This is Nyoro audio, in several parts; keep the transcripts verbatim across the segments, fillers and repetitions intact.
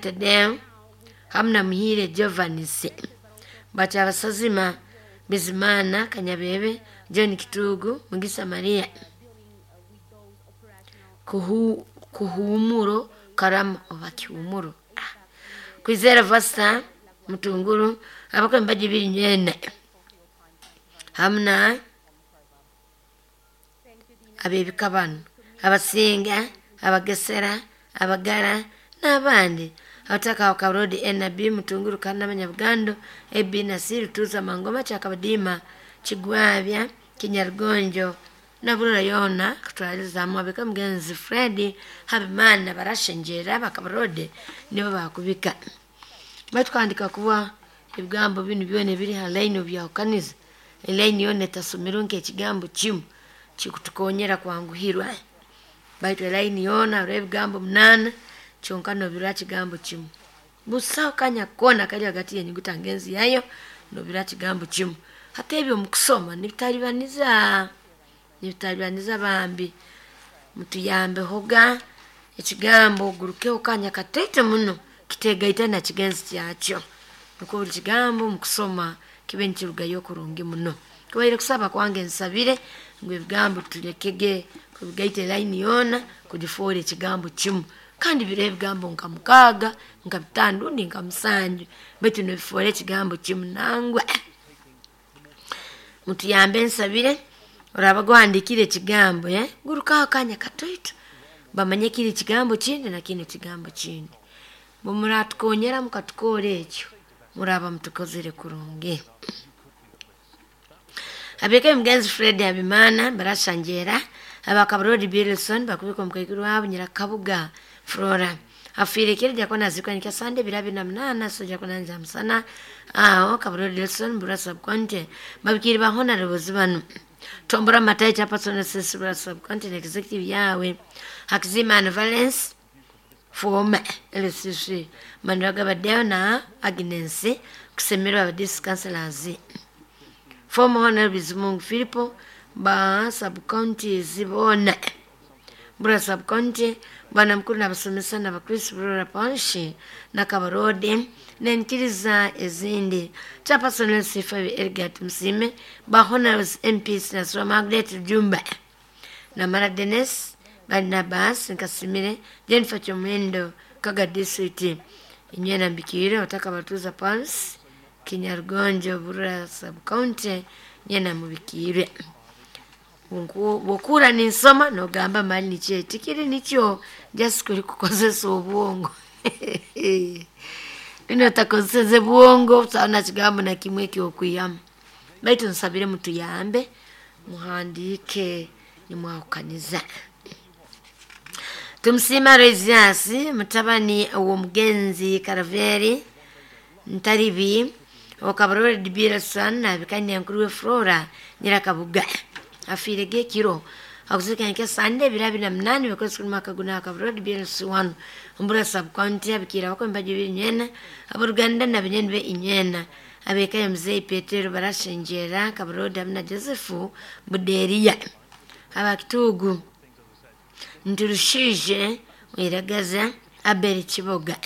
Tadeo hamu na Muhire Jovanisi Bakyabasazima Bizimana Kanyabebe John Kitugu Mugisa Maria Kuhu, Kuhumuro Karama oba Kihumuro ah. Kwizera Vasta Mutunguru abakwembaji biri nywene hamna abebika bano abasinga abagesera abagara n'abandi abataka wakabrodi N B Mutunguru kana abanyabugando E B na C Rutuza Mangoma Kyakabadima Kigwabya Kinyarugonjo naburura yona kutwalizamu abeka mugenzi Fred Habimana barashenjera bakabrode nibo bakubika batwandika kuba ebigambo binu byona ebiri ha line obyahukaniza elaini yona etasomerwe nk'ekigambo kimu kikutukonyera kwanguhirwa baitu elaini yona hariho ebigambo munaana kyonka nobirora kigambo kimu busaho kanya koona kali hagati y'enyuguta ngenzi yayo nobirora kigambo kimu. Hati ebyo omukusoma nibitalibaniza nibitalibaniza bambi mutuyambehoga ekigambo ogurukeho kanya kataito muno kitegaita na kigenzi kyakyo nukwo buli kigambo omukusoma kibe nikirugayo kurungi muno. Kubaire kusaba kwange nsabire ngu ebigambo tulekege kubigaita elaini yoona kugifoora ekigambo kimu kandi biriho ebigambo nka mukaaga nka bitaano rundi nka musanju baitu nobifoora ekigambo kimu nangwa. Mutuyambe nsabire oraba gwahandikire ekigambo eh, gurukaho akanya katoito bamanye kiri kigambo kindi na kinu kigambo kindi. Bumuratukonyera mukatukora ekyo muraba mutukozere kurungi. Abeka mugenzi Fred Habimana barashanjera abakabrodi Bilson bakubika omukaikuru wabo Nyirakabuga Flora afiire kiro jakona azikwa nikya Sande biro abiri na munaana soja kunanja musana aho Kabrodi Wilson Bura subcounty babikiri ba honorables bano Tombora Matai Chairperson S S Bura subcounty na executive yawe Hakizimana Valence former L C C Maniraga Badeo na Agnes kusemerwa aba district councillors former honorable Bizimungu Filipo ba subcounties boona Bura subcounty bwana mukuru n'abasomesa n'abakristo Burora Parish na Kabarode n'enkiriza ezindi Chairperson L C five Elgat Musime ba honorables M Ps Nasra Margaret Jumba na Mara Denis Barnabas Nkasimire Jennifer Chomwendo Kaga District Inywena Mbikire wataka batuza Parish Kinyarugonjo Burora subcounty nyena mubikire bwokura ninsoma nogamba mali nikyo tikiri nikyo just kuli kukozesa obwongo bino takozeseze bwongo saona kigambo na kimwe kyokwihamu baitu nsabire mutuyambe muhandike nimwahukaniza. Tumusiima Resias mutabani w'omugenzi Karaveri Ntaribi okabarore Bilson nabikanya nkuru we Flora Nyirakabuga afiire gekiro akuzikanya nke Sande biro abiri na munaana bikozi kuri mwaka guna Kabarore Bilson ombura subcounty abikira abakwembaji biri nywena aboruganda na binyeni be inywena abeka mzee Petero barashenjera Kabarode hamwe na Joseph Buderiya abakitugu Ntirushije Wiragaza Abel Kiboga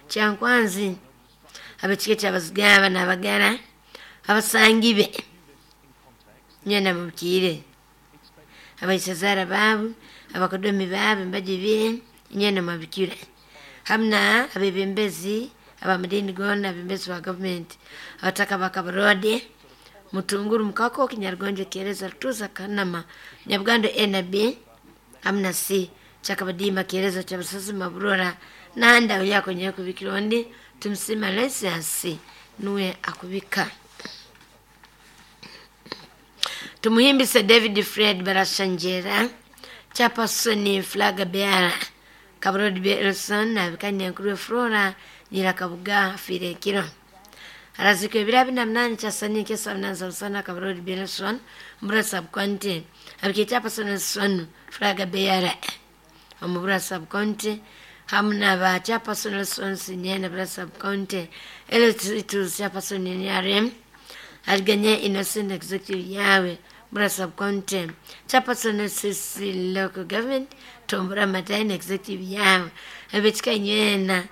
Kyankwanzi abakike kyabazigaba n'abagara abasangibe nyena mubikire abaisazara baabo abakodomi baabo embaji ibiri nyena mubikire hamna abebembezi abamadini gona abembezi ba gavumenti abataka ba Kabarode Mutunguru Mukako Kinyarugonjo Kyereza Rutuza Kanama Nyabugando N B hamna C Kyakabadima Kyereza Kyabasasi Maburora nanda uyakonyera kubikira ondi Tumusima Lesias nuwe akubika. Tumuhimbise David Fred Barashanjera Chairperson Flaga Beara Kabarodi Wilson nabikanya nkuru Flora Nyirakabuga afiire ekiro arazikwa ebiro abiri na munaana kyasani kyesa munana musana Kabarodi Wilson Mbura subcounty abikire Chairperson Son Flaga Beara omu Bura subcounty hamu na ba Chairperson Wilson Sinyena Bura subcounty L two Chairperson N R M aliganye Innocent Executive yawe Bura subcounty Chairperson C C local government Tombora Mataini Executive yawe abekika nywena.